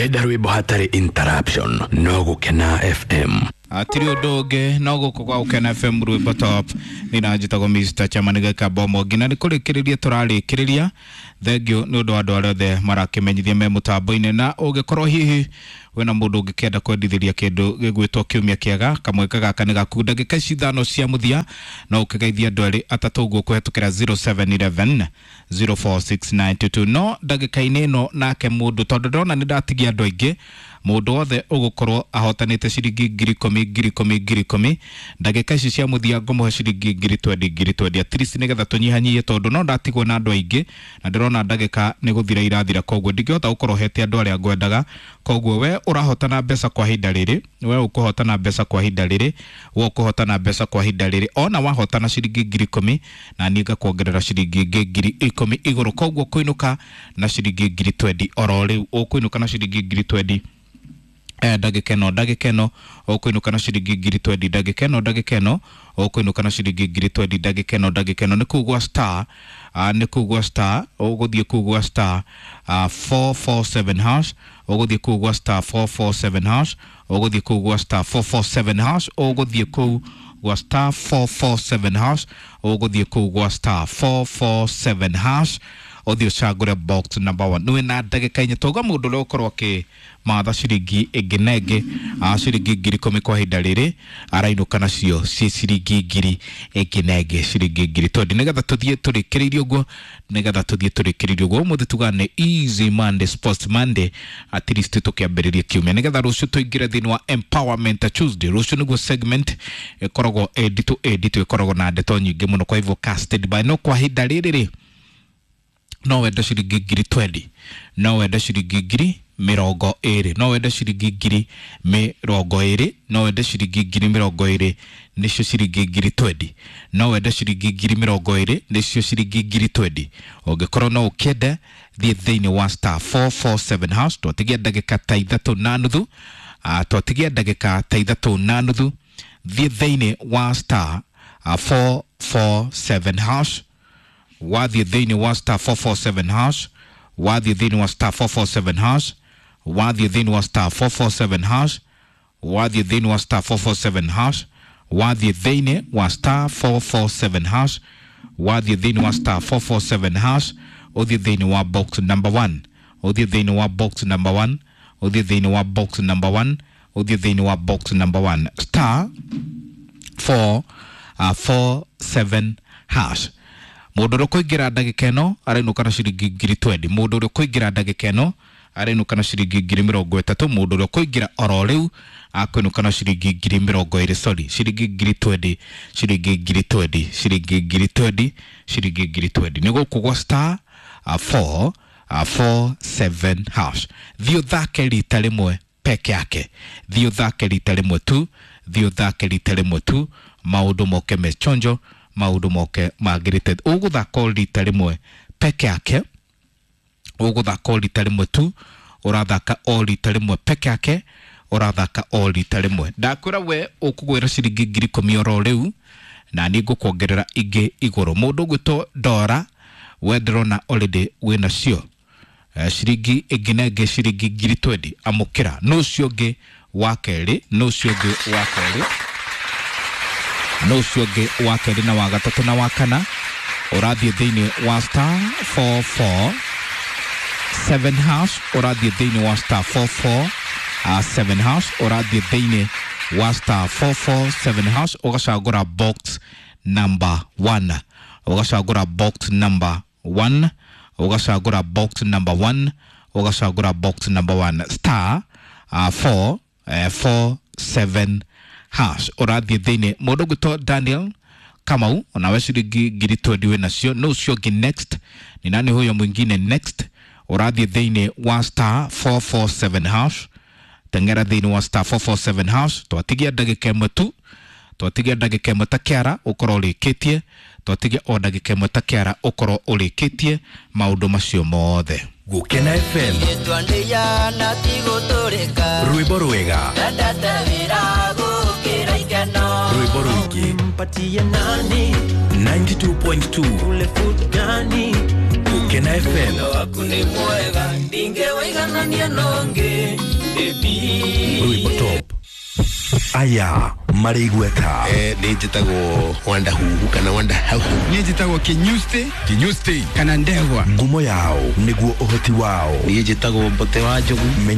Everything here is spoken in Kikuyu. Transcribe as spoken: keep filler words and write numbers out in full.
Wenda rwimbo hatari interruption no Gukena F M. Atiri undu ungi no guku gwa Gukena F M rwimbo top nina njitagwo Mister Chairman geka bomo ngina ni kurikiriria turarikiriria. Thank you ni undu wa andu aria othe marakimenyithia me mutambo-ini, na ungikorwo hihi wina mundu ungikienda kwendithiria kindu gigwitwo kiumia kiega kamweka gaka ni gaku ndagika ici ithano cia muthia no ukigeithia andu eri atatu uguo kuhetukira zero seven eleven zero four six nine two two. No ndagika-ini ino nake mundu tondu ndona ni ndatigia andu aingi mundu wothe ugukorwo ahotanite ciringi ngiri ikumi ngiri ikumi ngiri ikumi ndagika ici cia muthia ngumuhe ciringi ngiri twendi ngiri twendi at least nigetha tunyihanyihie tondu no ndatigwo na andu aingi na ndirona ndagika ni guthira irathira, koguo ndingihota gukorwo hete andu aria ngwendaga. Koguo we urahotana mbeca kwa ihinda riri, we ukuhotana mbeca kwa ihinda riri, we ukuhotana mbeca kwa ihinda riri, ona wahotana ciringi ngiri ikumi na niĩ ngakuongerera ciringi ingĩ ngiri ikumi igũrũ, koguo kuinuka na ciringi ngiri twendi oro rĩu ũkũinũka na ciringi ngiri twendi eh ndagĩka ĩno ndagĩka ĩno ũkũinũka na ciringi ngiri twendi ndagĩka ĩno ndagĩka ĩno ũkũinũka na ciringi ngiri twendi ndagĩka ĩno ndagĩka ĩno nĩ kũu gwa star uh, nĩ kũu gwa star ũgũthiĩ kũu gwa star uh, four four seven hash ũgũthiĩ kũu gwa star four four seven hash ũgũthiĩ kũu gwa star four four seven hash ũgũthiĩ kũu gwa star four four seven hash ũgũthiĩ kũu gwa star four four seven hash ũthiĩ ũcagũre box number one. Nĩwe na ndagĩka inya tauga mũndũ ũrĩa ũkorwo akĩmatha ciringi ĩngĩ na ĩngĩ ciringi ngiri ikũmi kwa ihinda rĩrĩ arainũka nacio ciĩ ciringi ngiri ĩngĩ na ĩngĩ ciringi ngiri twendi nĩgetha tũthiĩ tũrĩkĩrĩirie ũguo nĩgetha tũthiĩ tũrĩkĩrĩirie ũguo. Ũmũthĩ tugaga nĩ Easy Monday, Sports Monday, at least tũkĩambĩrĩria kiumia nĩgetha rũciũ tũingĩre thĩinĩ wa Empowerment Tuesday. Rũciũ nĩguo segment ĩkoragwo ĩnditũ ĩnditũ ĩkoragwo na ndeto nyingĩ mũno, kwa hivyo casted by no kwa ihinda rĩrĩ rĩ no wende ciringi ngiri twendi no wende ciringi ngiri mĩrongo ĩrĩ no wende ciringi ngiri mĩrongo ĩrĩ no wende ciringi ngiri mĩrongo ĩrĩ nĩcio ciringi ngiri twendi no wende ciringi ngiri mĩrongo ĩrĩ nĩcio ciringi ngiri twendi. Ũngĩkorwo no ũkĩende thiĩ thĩinĩ wa star four four seven hash twatigia ndagĩka ta ithatũ na nuthu twatigia ndagĩka ta ithatũ na nuthu thiĩ thĩinĩ wa star four four seven hash wathiĩ thĩinĩ wa star four four seven hash wathiĩ thĩinĩ wa star four four seven hash wathiĩ thĩinĩ wa star four four seven hash wathiĩ thĩinĩ wa star four four seven hash wathiĩ thĩinĩ wa star four four seven hash wathiĩ thĩinĩ wa star four four seven hash ũthiĩ thĩinĩ wa box number one ũthiĩ thĩinĩ wa box number one ũthiĩ thĩinĩ wa box number one ũthiĩ thĩinĩ wa box number one star four four seven hash. Mũndũ ũrĩa ũkũingĩra ndagĩka ĩno arainũka na ciringi ngiri twendi mũndũ ũrĩa ũkũingĩra ndagĩka ĩno arainũka na ciringi ngiri mĩrongo ĩtatũ mũndũ ũrĩa ũkũingĩra oro rĩu akũinũka na ciringi ngiri mĩrongo ĩrĩ sorry ciringi ngiri twendi ciringi ngiri twendi ciringi ngiri twendi ciringi ngiri twendi nĩ gũkũ gwa star four four seven hash. Thiĩ ũthake rita rĩmwe peke yake, thiĩ ũthake rita rĩmwe tu, thiĩ ũthake rita rĩmwe tu, maũndũ moke mechonjo, maũndũ moke magĩrĩte. Ũgũthaka rita rĩmwe peke yake, ũgũthaka rita rĩmwe tu, ũrathaka o rita rĩmwe peke yake, ũrathaka o rita rĩmwe. Ndakwĩra we ũkũgwĩra ciringi ngiri ikũmi oro rĩu na niĩ ngũkuongerera ingĩ igũrũ. Mũndũ ũgwĩtwo Dora we ndĩrona already wĩna cio ciringi ĩngĩ na ĩngĩ ciringi ngiri twendi amũkĩra. Nũ ũcio ũngĩ wa kerĩ, nũ ũcio ũngĩ wa kerĩ, nũ ũcio ũngĩ wa kerĩ na wa gatatũ na wa kana ũrathiĩ thĩinĩ wa star four four seven hash ũrathiĩ thĩinĩ wa star four four seven hash ũrathiĩ thĩinĩ wa star four four seven hash ũgacagũra box number one ũgacagũra box number one ũgacagũra box number one ũgacagũra box number one star uh, four uh, four seven hash ũrathiĩ thĩinĩ. Mũndũ ũgwĩtwo Daniel Kamau onawe ciringi ngiri twendi wĩ nacio. Nũ ũcio ũngĩ next ni nani huyo mwingine next ũrathiĩ thĩinĩ wa star four four seven hash teng'era thĩinĩ wa star four four seven hash twatigia ndagĩka ĩmwe tu, twatigia ndagĩka ĩmwe ta kĩara ũkorwo ũrĩkĩtie, twatigia o ndagĩka ĩmwe ta kĩara ũkorwo ũrĩkĩtie maũndũ macio mothe. Gukena F M rwĩmbo rwega rwĩmbo rũingĩ ninety-two point two Gukena F M. Waku nĩ mwega ndingĩwaiganania nongĩ. Rwĩmbo top. Aya marĩ igweta. Eh, nĩ njĩtagwo Wanda Huhu kana Wanda Hauhu. Niĩ njĩtagwo Kinyusti. Kinyusti. Kana Ndegwa. Ngumo yao nĩguo ũhoti wao. Niĩ njĩtagwo Mbote wa Njogu. Menya